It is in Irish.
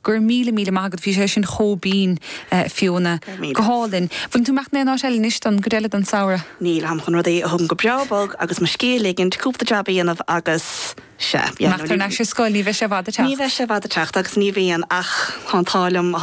Go raibh míle, míle maith agat, bhí sé sin chomh binn, Fiona. Go hálainn. Bhfuil tú ag imeacht in aon áit eile anois don gcuid eile den samhradh? Níl, táim chun rudaí a thógaint go breá bog agus mo scíth a ligint, cúpla jab a dhéanamh agus sea, yeah, Imeacht thar n-ais ar scoil, ní bheidh sé i bhfad ag teacht. Ní bheidh sé i bhfad ag teacht agus ní bhíonn ach tá an t-ádh liom.